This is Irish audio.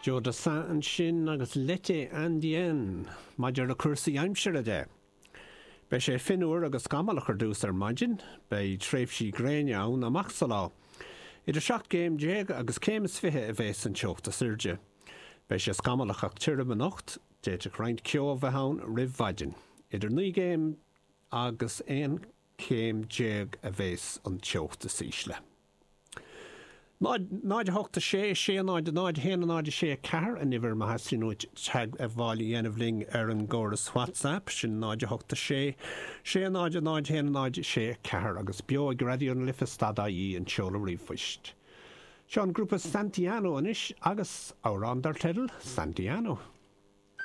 Joe Dassin ansin agus L'été Indien. Maidir le cúrsaí aimsire de, beidh sé fionnuar agus scamallach ar dtús ar maidin. Beidh tréimhsí gréine ann amach sa lá. Idir 17 gcéim agus céim is 20 a bheas an teocht is airde. Beidh sé scamallach ach tirim anocht. D'fhéadfadh roinnt ceo a bheith ann roimh mhaidin. Idir 9 gcéim agus 11 céim a bheas an teocht is ísle. 0, 0, 8, 6, 6, 0, 0, 1, 0, 6, 4, an uimhir má theastaíonn uait teagmháil a dhéanamh linn ar an gcóras WhatsApp, sin 0, 8, 6, 6, 0, 0, 1, 0, 6, 4 agus beo ag Raidió na Life stad ie an seoladh ríomhphoist. Seo an grúpa Santiano anois agus amhrán dar teideal Santiano.